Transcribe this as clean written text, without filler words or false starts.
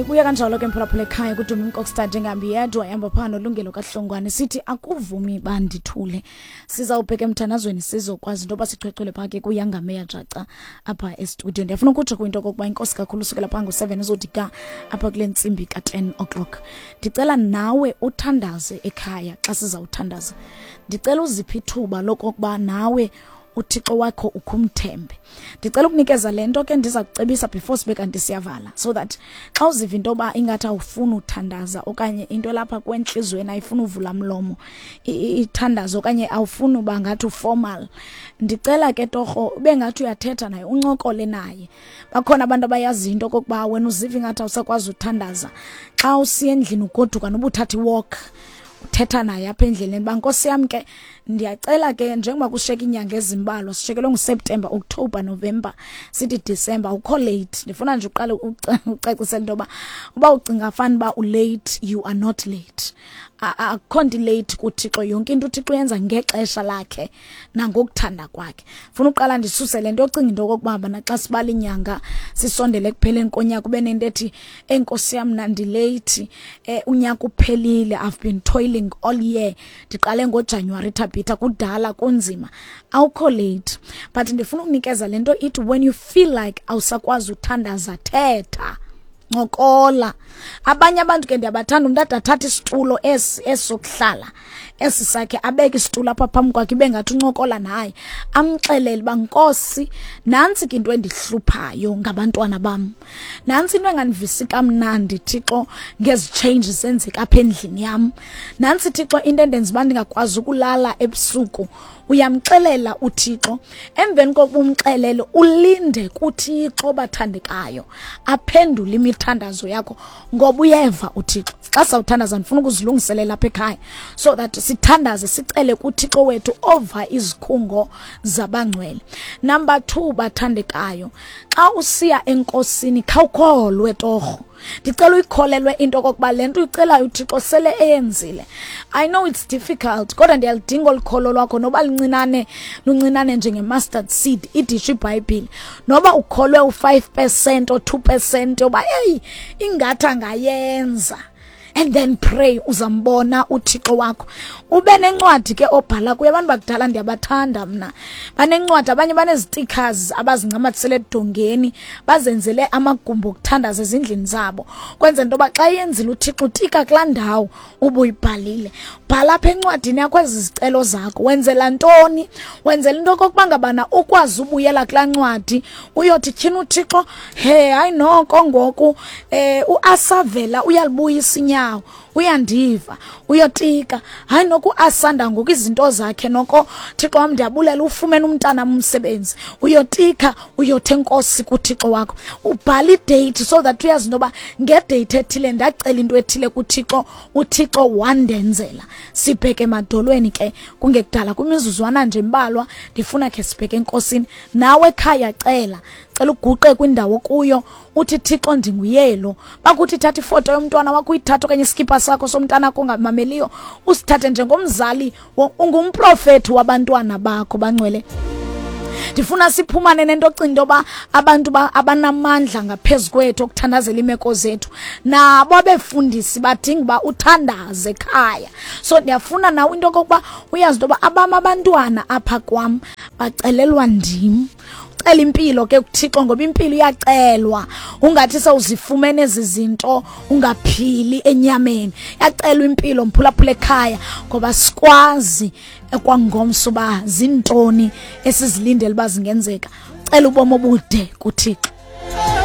Kuya kanjalo ke mphulaphula ekhaya kuDumi Mkokstad njengahambi yedwa ehamba phaa noLungelo kaHlongwane sithi akuvumi bandithule. Sizawubheka emthandazweni sizokwazi into yoba sichwechwele phaa ke kuyangameya jaca apha estudio. Ndiyafuna ukutsho kwinto okokuba inkosi kakhulu usukela phaa ngo-7 uzothi ga apha kule ntsimbi ka-10 o'clock. Ndicela nawe uthandaze ekhaya xa sizawuthandaza. Ndicela uziphe ithuba lokokuba nawe uThixo wakho ukhumthembe. Ndicela ukunikeza le nto ke ndiza kucebisa before sibe kanti siyavala so that xa uziva into yoba ingathi awufuni uthandaza okanye into elapha kwentliziyweni ayifuni uvula mlomo ithandazo okanye awufuni uba ngathi uformal, ndicela ke torho ube ngathi uyathetha naye, uncokole naye. Bakhona abantu abayaziyo into okokuba wena uziva ingathi awusakwazi uthandaza, xa usiya endlini ugoduka noba uthatha iwalk, uthetha naye apha endleleni uba nkosi yam ke ndiyacela ke njengoba kushiyeka iinyanga ezimbalwa, sishiyekelwe nguSeptemba, October, November, sithi December, awukho late. Ndifuna nje uqale ucacisele into yoba uba ucinga fani uba ulate, you are not late. Akukho nto ilate kuThixo, yonke into uThixo uyenza ngexesha lakhe nangokuthanda kwakhe. Funa uqala ndisuse le nto yocinga into okokuba bana xa sibala iinyanga sisondele ekupheleni konyaka ube nento ethi enkosi yam mna ndileyithi, unyaka uphelile, I've been toiling all year, ndiqale ngoJanuwari Thabitha, kudala kunzima. Awukho late, but ndifuna ukunikeza le nto ithi when you feel like awusakwazi uthandaza, thetha, ncokola. Abanye abantu ke ndiyabathanda, umntu ade athathe isitulo esi sokuhlala esi sakhe, abeke isitulo apha phambi kwakhe, ibe ngathi uncokola naye, amxelele uba nkosi nantsi ke into endihluphayo ngabantwana bam, nantsi into engandivisi kamnandi Thixo ngezi changes zenzeka apha endlini yam, nantsi Thixo into endenza uba ndingakwazi ukulala ebusuku. Uyamxelela uThixo, emveni kokuba umxelele ulinde kuThixo bathandekayo aphendule imithandazo yakho, ngoba uyeva uThixo. Xa sawuthandaza ndifuna ukuzilungiselela apha ekhaya so that sithandaze sicele kuThixo wethu ova izikhungo zabangcwele. Number 2 bathandekayo, xa usiya enkosini khawukholwe torho. Ndicela uyikholelwe into okokuba le nto uyicelayo uThixo sele eyenzile. I know it's difficult, kodwa ndiyalidinga olu kholo lwakho, noba luncinane, luncinane njenge-mustard seed, idisho iBhayibhile. Noba ukholwe u-5% or 2% yoba eyi ingathi angayenza, and then pray, uzambona uThixo wakho. Ube nencwadi ke obhala kuyo. Abantu bakudala ndiyabathanda mna, banencwadi, abanye banezi-stickers abazincamathisele edongeni, bazenzele amagumbi okuthandaza ezindlini zabo, kwenzela into yoba xa yenzile uThixo utika kulaa ndawo ubuyibhalile. Bhala apha encwadini yakho ezi zicelo zakho. Wenzela ntoni? Wenzela into okokuba ngabana ukwazi ubuyela kulaa ncwadi uyothi tyhini uThixo, he hayi noko ngoku uAsavela uyalibuyisa inyawo, uyandiva, uyotika, hayi noko uAsanda ngoku izinto zakhe noko Thixo wam ndiyabulela ufumene umntana umsebenzi, uyotika uyothi enkosi kuThixo wakho. Ubhala idate so that uyazi into yoba ngedate ethile ndacela into ethile kuThixo, uThixo wandenzela. Sibheke emadolweni ke kungekudala, kwimizuzwana nje embalwa ndifuna khe sibheke enkosini. Nawe ekhaya cela, cela uguqe kwindawo kuyo uthi Thixo ndinguyelo. Bakuthi thatha ifoto yomntwana wakho uyithathe, okanye iskipa sakho somntana wakho ongamameliyo usithathe njengomzali, ungumprofethi wabantwana bakho bangcwele. Ndifuna siphumane nento ocinga into yoba abantu abanamandla ngaphezu kwethu okuthandazela iimeko zethu, nabo abefundisi badinga uba uthandaze ekhaya. So ndiyafuna nawe into okokuba uyazi into yoba abam abantwana apha kwam bacelelwa ndim. Cela impilo ke kuThixo, ngoba impilo iyacelwa. Ungathi sewuzifumene ezi zinto ungaphili enyameni. Iyacelwa impilo mphulaphula ekhaya, ngoba sikwazi ekwangomso uba zintoni esizilindele uba zingenzeka. Cela ubomi obude kuThixo.